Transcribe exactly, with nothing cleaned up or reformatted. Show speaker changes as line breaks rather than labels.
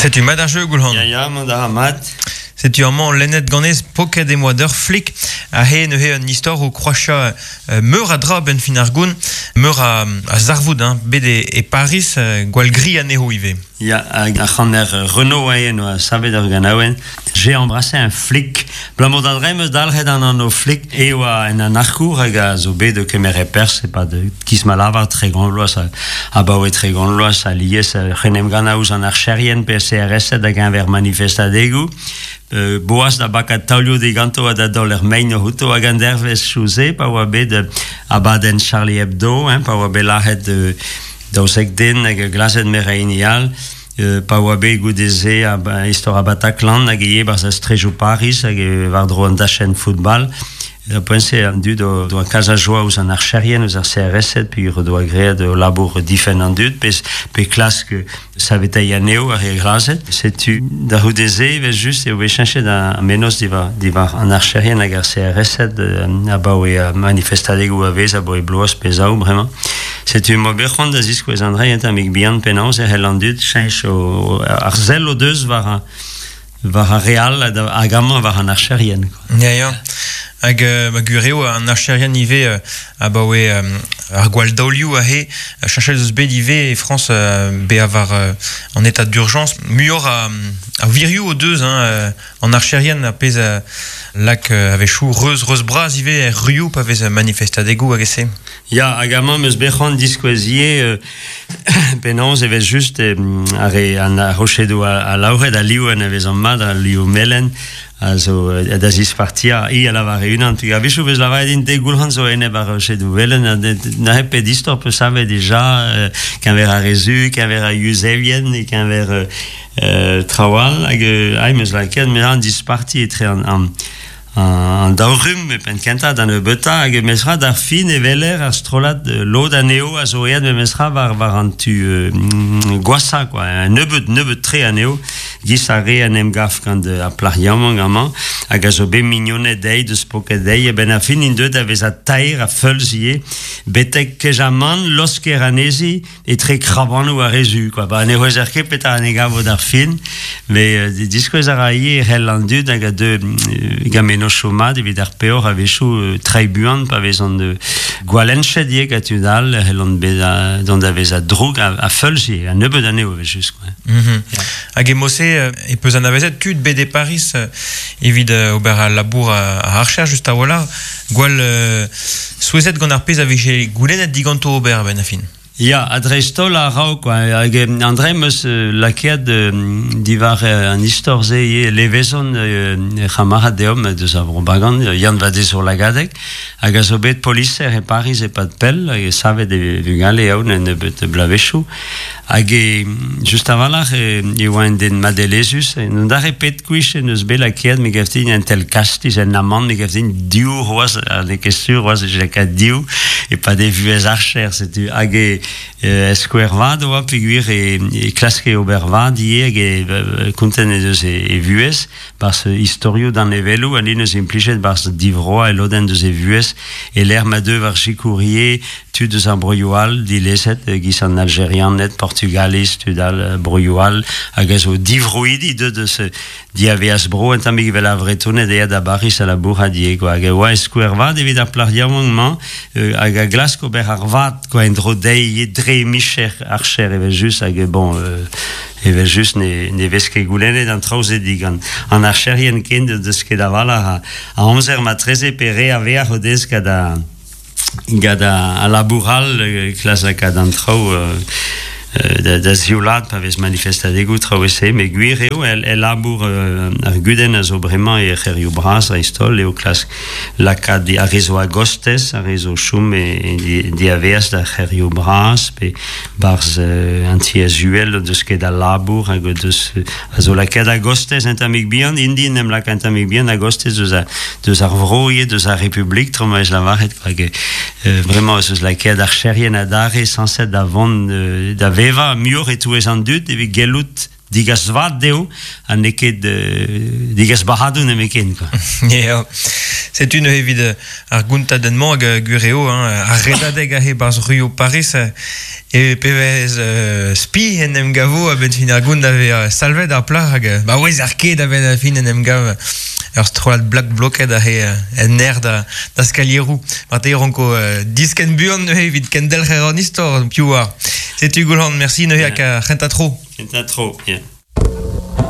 Setu mat ar jeu, Goulc'han.
Ya, ya, mont a ra mat.
Setu amañ lennet ganez poket em boa d'ur flik a he neuze un istor o kroacha euh, meur a dra ben fin ar goun, meur a, a zarvoud, hein, bet e, e Paris, euh, gwall gri anezho ivez.
Ya, hag ar c'haner Renaud aen oa savet ur ganaouenn. J'ai embrassé un flic. Blamor da dremm eus dalc'het an anv flic e oa en an arkour hag a zo bet de kemer e pers, e pa de kiz ma lavar tregont vloaz a, abaoe tregont vloaz a lies c'henem gant ouzh an archerien pe C R S hag enver manifestadegou. Euh, boaz da baka taolioù diganto ha da daol er mein o huto hag an dervez chouze pa oa bet euh, abadenn Charlie Hebdo, hein, pa oa bet lac'het euh, daouzek den hag glazet mer a all, euh, pa oa bet goudeze a, ba, istor a Bataclan hag ivez barz a strejoù Paris hag e war dro an dachenn football. Da poent-se an dud o doa kalz a joa ouzh an archerien, ouzh ar C R S puis o doa graet o labour difenn an dud, pe, pe klask saveteiñ anezho ar re glazet. Setu da c'houdeze, evel just, eo bet cheñchet an mennozh diwar, diwar an archerien hag ar C R S euh, abaoe a manifestadegoù a vez, abaoe bloaz pe zaou bremañ. Setu mo bet c'hoant da ziskouez an dre enta mig bihan penaos e c'hell an dud cheñch o, ar sell o deus war a, war ar re all hag amañ war an archerien, quoi.
Ya, ya. Hag euh, ma gwir eo an archerien ivez euh, abaoe euh, ar gwall daolioù aze, cheñchet eus bet ivez e Frañs euh, bezañ war euh, an état d'urgence. Muioc'h a, a wirioù o deus, hein, euh, an archerien a pezh a lak euh, a-wechoù reuz, reuz bras ivez er ruioù pa vez manifestadegoù hag e-se.
Ya, hag amañ meus bet c'hoant diskouezier euh, penaos e vez just euh, ar re an ar rochedoù a, a laouret a liv en a vez an mat, a liv melen, a zo euh, da zispartia i a lavar e unan. Hag a-wechoù vez lavaret din de Goulc'han zo enep ar rochedoù velen, ha de, na hep pet istor peus savet dija euh, keñver ar re zu, keñver ar Yuzevien, e keñver, euh, euh, traoù all, hag, euh, ai, meus lakaet, me an disparti etre an, an, an daou rumm e penn kentañ d'an nebeutañ, hag meus ra d'ar fin e weler ar strollad, euh, lod anezho a zo aet memes ra war, war an tu, euh, gwashañ, quoi, un nebeut, nebeut tre anezho, giz ar re en em gav gant, euh, ar plac'h yaouank amañ, hag a zo bet mignoned dezhi, deus poket dezhi, e ben ar fin int deuet a vezañ taer ha feulz ivez, betek kejamant losker anezhi etre krabanoù ar re zu, quoi. Ba, ne c'houezer ket petra an e gavo d'ar fin, mais, euh, diskouez a ra ivez c'hell an dud hag a deu, euh, gant mennozhioù mat evit ar peoc'h a-wechoù, euh, treiñ buan pa vezont, euh, gwalennchet ivez gant tud all, c'hell an bezañ, dont da vezañ droug a, a feulz ivez, a nebeut anezho evel just, quoi.
Mhm.
Ya.
Hag e mose, euh, e peus anavezet tud bet e Paris, euh, evit, euh, ober al labour a, a archer just a-walc'h, gwall, euh, souezhet gant ar pezh a vije goulennet diganto ober a-benn ar fin.
Ya, a dreist-holl a raok, quoi. Hag, euh, an dre meus, euh, lakaet, euh, diwar, euh, an istor-se ivez levezon, euh, c'hamarad deomp deus ar vro Bagan, Yann Vadezour Lagadeg, hag a zo bet poliser e Paris e pad pell, hag e savet e vugale aon en nebeut blavezhioù. Hag e, just a-walc'h, e, e oa un den madelezus, e n'on dare pet kuich en eus bet lakaet, me gav din un tel kastiz, un amant, me gav din div c'hoazh, ha n'eo ket sur c'hoazh, e lakaet div, e pa de vuhez archer, setu. Hag e, e skouer vat oa peogwir e, e klaske ober vat ivez, hag e, e, kontent e deus e, e vuhez, barz istorioù d'an eveloù, ha eus implijet barz divroa e lodenn deus e vuhez, e l'er ma deu war sikourier tud eus ar broioù all, dilezet, giz an Algerianed, Portugaliz, tud all, broioù all, hag a zo divroidi deus deus diaveaz bro, en tammig evel ar Vretoned aet da Baris a labour a die, quoi. Hag e oa e skouer vat evit ar plac'h yaouank-mañ, euh, hag a glask ober ar vat, quoi, en dro dezhi, dre micher archer evel just, hag e bon, euh, evel just ne, ne vez ket goulennet an traoù-se digant an archerien ken deus ket a-walc'h a, a amzer matreze pe re a veac'h o deus gant a, gant a, a labour all, euh, klas lakaat an traoù, euh, euh, da, da zioulad pa vez manifestadegoù traoù e-se, met gwir eo, el, el labour, euh, ar gudenn a zo bremañ e c'herioù bras dreist-holl, eo klask lakaat di ar re zo a-gostez, ar re zo chom e, e di, diaveaz da c'herioù bras, pe barz, euh, an tiez uhel deus ket al labour, hag deus, euh, a zo lakaat a-gostez un tammig bihan, indi en em laka un tammig bihan a-gostez deus a, deus ar vro ivez, deus ar Republik, tro ma ez lavaret, quoi, hag, euh, vraiment eus lakaat ar cherien adarre sañset da vont, euh, da vevañ muioc'h e-touez an dud evit gellout digas vat deo, ha n'eo ket euh, digas barradoù nemeken, quoi.
Yeah. Setu neuze evit ar gountadenn-mañ hag gwir eo, hein, ar redadeg aze 'barzh ruioù Paris e pebezh euh, spi en em gavo a-benn fin ar gount da vez salvet ar plac'h hag ba ouez ar ket a-benn fin en em gav ur strollad black bloket aze en aer da, da skalieroù. Marteze ranko euh, disken buan neuze evit kendelc'her an istor, piv oar. Setu Goulc'han, merci neuze hag ar c'hentañ tro.
Kentañ tro, yeah.